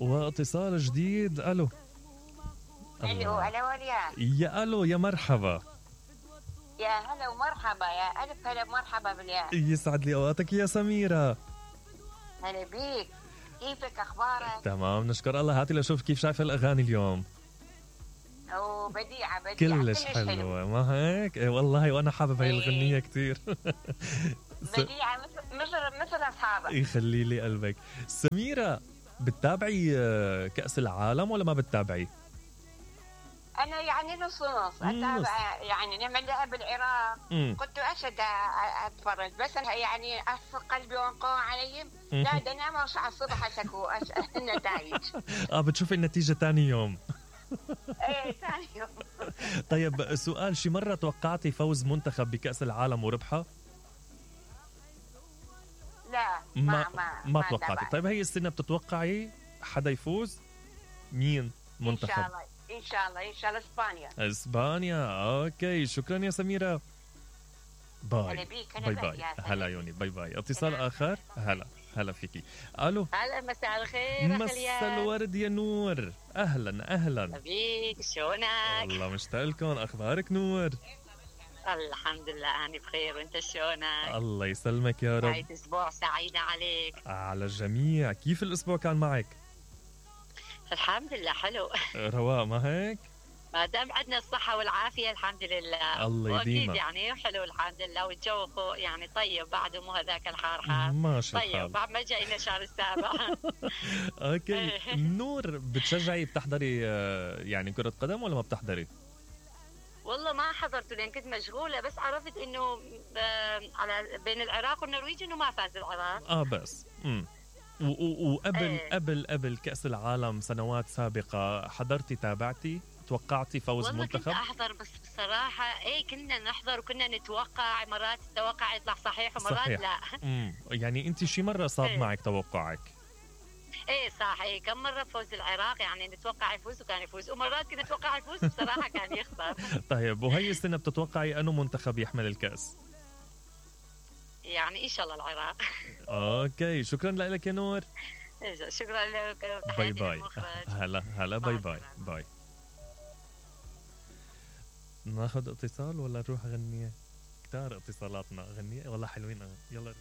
واتصال جديد. الو الو وليان. يا الو يا مرحبا. يا هلا ومرحبا، يا الف هلا ومرحبا بالياس. يسعد لي اوقاتك يا سميرة. هلا بيك، كيفك اخبارك؟ تمام نشكر الله. هاتي لشوف كيف شايفه الاغاني اليوم. بديعة كلش حلوة ما هيك؟ ايه والله وانا حابب هاي الغنية كتير. بديعة مثل اصحابك. يخلي لي قلبك. سميرة بتتابعي كأس العالم ولا ما بتتابعي؟ انا يعني نص اتابع، يعني لما لعب العراق كنت اشد اتفرج، بس أنا يعني قلبي وانقوى علي، لا ده انام على الصبح اشكو النتائج. بتشوفي النتيجة تاني يوم. ايه ثاني يوم. طيب سؤال، شي مرة توقعتي فوز منتخب بكأس العالم وربحه؟ لا ما توقعتي. طيب هي السنة بتتوقعي حدا يفوز؟ مين منتخب؟ ان شاء الله اسبانيا. اوكي شكرا يا سميرة. باي. باي باي. هلا يوني. باي باي. اتصال اخر. هلا فيكي. الو. هلا مساء الخير. مساء الورد يا نور. اهلا بيك، شلونك؟ والله مشتاق لكم. اخبارك نور؟ الحمد لله انا بخير، وانت شلونك؟ الله يسلمك يا رب. نهاية اسبوع سعيدة عليك. على الجميع. كيف الاسبوع كان معك؟ الحمد لله حلو. رواق ما هيك؟ ما دام عندنا الصحة والعافية الحمد لله. الله يديمك. يعني حلو الحمد لله، والجو يعني طيب بعد، مو هذاك الحار ما شاء الله. طيب بعد ما جاينا الشهر السابع. اوكي نور، بتشجعي بتحضري يعني كرة قدم ولا ما بتحضري؟ والله ما حضرته لان كنت مشغولة، بس عرفت انه على بين العراق والنرويج انه ما فاز العراق. بس وقبل قبل كأس العالم سنوات سابقة حضرتي تابعتي توقعتي فوز والله منتخب؟ كنت أحضر، بس بصراحة كنا نحضر وكنا نتوقع، مرات التوقع يطلع صحيح ومرات صحيح. لا. يعني انت شي مرة صاب معك توقعك؟ صح. كم مرة فوز العراق يعني نتوقع يفوز وكان يفوز، ومرات كنا نتوقع يفوز بصراحة كان يخسر. طيب وهي السنة بتتوقعي انه منتخب يحمل الكأس؟ يعني ان شاء الله العراق. اوكي شكرا لك يا نور. شكرا لك. باي باي. هلا باي. ناخذ اتصال ولا نروح غنية؟ كتار اتصالاتنا غنية والله حلوين. يلا